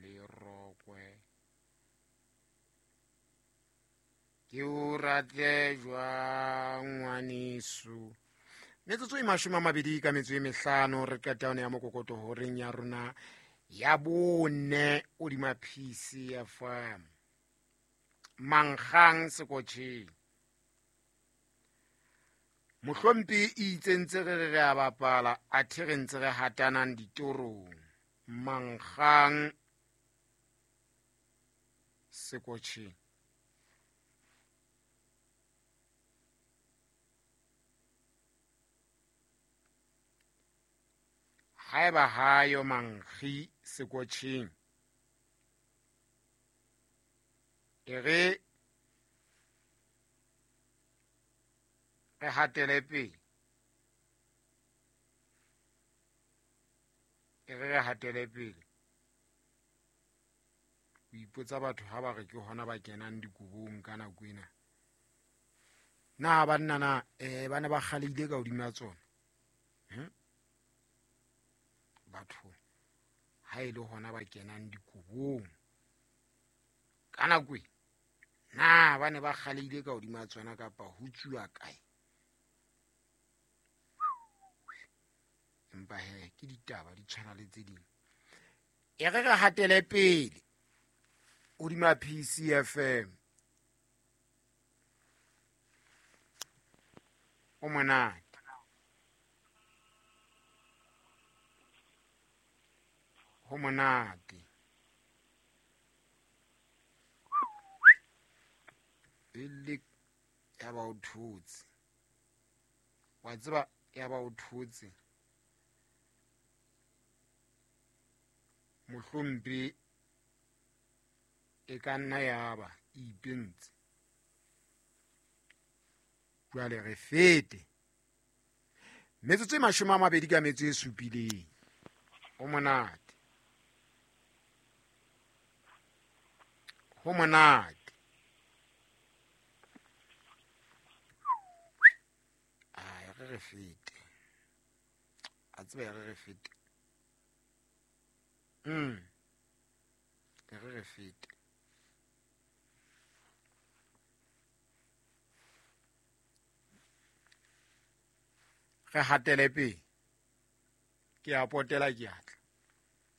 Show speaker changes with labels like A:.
A: le rokwe. Ke o rate jwang ngwaneso. Metsotso e 25 re qeta yone ya mokokoto horeng ya rona ya bone hodima PCFM. Mankgang sekotjheng. Mohlompi e itse ntse re re re a bapala, athe re ntse re hatanang ditorong. Mankgang sekotjheng. Haeba hayo mankgi sekotjheng, e re re hatele pele. E re re hatele pele. O ipotsa batho ha ba re ke hona ba kenang dikobong ka nako ena. Na banna na ba ne ba kgaleile ka hodima tsona? Batho ha e le hona ba kenang dikobong ka nako e, na ba ne ba kgaleile ka hodima tsona kapa ho tsuwa kae? Empa he ke ditaba di tshwana le tse ding. E re re hatele pele hodima PCFM. O monate. Ho monate. Ele ya ba o thotse. Wa tseba ya ba o thotse. Mohlompe e ka nna ya ba e ipentse. Jwale re fete. Metsotso e 27. O monate. Ho monate. Ai, re re fete. A tseba re re fete. Re re fete. Re hatele pele. Ke a potela ke atla.